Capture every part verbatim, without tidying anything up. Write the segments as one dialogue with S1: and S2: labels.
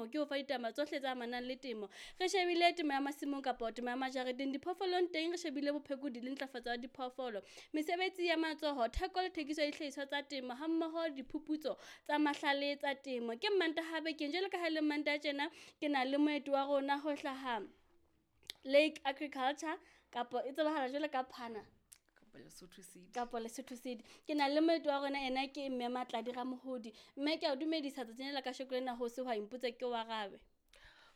S1: temo ke ho fa ditaba tsohle tse amanang le temo. Re shebile temo ya masimong kapa temo ya majareteng, diphoofolong teng re shebile bophekodi le ntlafatso ya diphoofolo, mesebetsi ya matsoho, theko le thekiso ya dihlahiswa tsa temo hammoho le diphuputso tsa mahlale tsa temo. Ke Mmantaha bekeng jwalo ka ha e le Mmantaha tjena, ke na le moeti wa rona ho hlaha Lake Agriculture kapa e tsebahala jwalo ka Phana
S2: Kapa Lesotho Seed.
S1: Kapa Lesotho Seed. Ke na le moeti wa rona, ena ke mme Matladi Ramohodi. Mme ke a o dumedisa tsatsing lena la kasheko lena ho sehwai mpotse ke o arabe.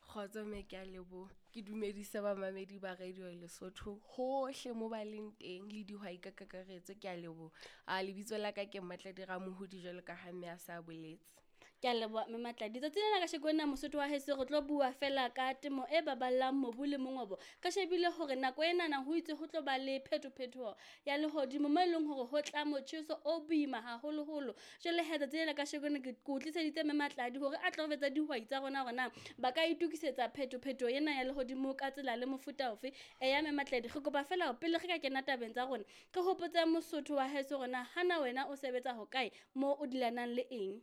S2: Kgotso mme, ke a leboha. Ke dumedise bamamedi ba Radio Lesotho hohle mo ba leng teng le dihwai ka kakaretso, ke a leboha. A lebitso la ka ke Matladi Ramohodi jwalo ka ha mme a sa boletse.
S1: Ke a leboha mme Matladi. Tsatsing lena kasheko lena Mosotho wa heso re tlo bua fela ka temo e baballang mobu le mongobo. Re shebile hore nako enana ho itse ho tlo ba le phetophetho ya lehodimo mo e leng hore ho tla motjheso o boima haholoholo. Jwale he tsatsing lena kasheko lena ke o tliseditse mme Matladi hore a tlo re jwetsa dihwai tsa rona hore na ba ka itokisetsa phetophetho ena ya lehodimo ka tsela le mofuta ofe. Eya mme Matladi, re kopa fela hore pele re ka kena tabeng tsa rona, re hopotse Mosotho wa heso hore na hana wena o sebetsa hokae moo o dilanang le eng.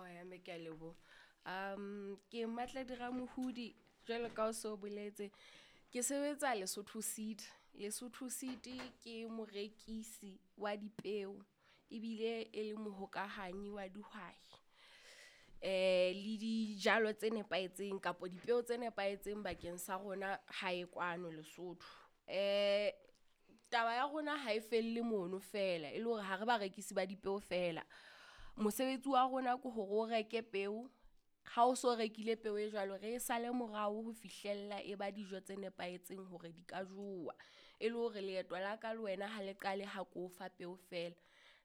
S2: Oya mme, ke a leboha. Um ke Matladi Ramohodi jwalo ka o so boletse. Ke sebetsa Lesotho Seed. Lesotho Seed ke morekisi wa dipeo ebile e le mohokahanyi wa dihwai. Eh le dijalo tse nepahetseng kapa dipeo tse nepahetseng bakeng sa rona hae kwano Lesotho. Eh taba ya rona ha e felle mono fela, e le hore ha re barekisi ba dipeo fela. Mosebetsi wa rona ke hore o reke peo, ha o so rekile peo e jwalo re e sale morao ho fihlella e ba dijo tse nepahetseng hore di ka jowa. E le hore leeto la ka le wena ha le qale ha ko fa peo fela,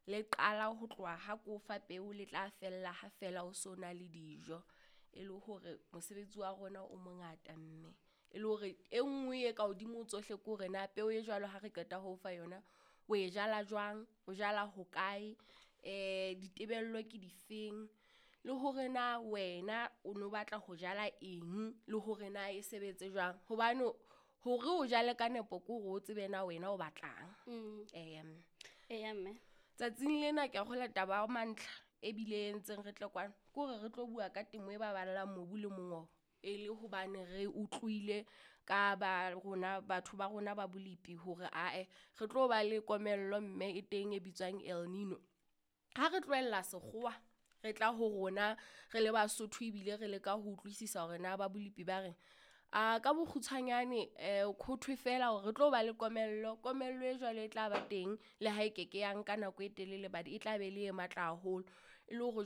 S2: le qala ho tloha ha ko fa peo le tla fella ha fela o so na le dijo. E le hore mosebetsi wa rona o mongata mme e le hore e nngwe e ka hodimo ho tsohle ke hore na peo e jwalo ha re qeta ho o fa yona, o e jala jwang, o jala hokae, eh ditebello ke difeng, le hore na wena o no batla ho jala eng, le hore na e sebetse jwang. Hobane hore o jale ka nepo ke hore o tsebe na wena o batlang.
S1: Mm.
S2: Eya mme.
S1: Eya mme.
S2: Tsatsing lena ke a kgolwa taba ya mantlha ebile e entseng re tle kwano ke hore re tlo bua ka temo e baballang mobu le mongobo. E le hobane re utlwile ka ba rona batho ba rona ba bolipi hore ae re tlo ba le komello mme e teng e bitswang El Nino. Ha re tlohella sekgowa re tla ho rona re le Basotho ebile re leka ho utlwisisa hore na ba bolipi ba reng. A ka bokgutshwanyane eh ho thwe fela hore re tlo ba le komello, komello e jwalo e tla ba teng le ha e keke ya nka nako e telele but e tla be le e matla haholo. E le hore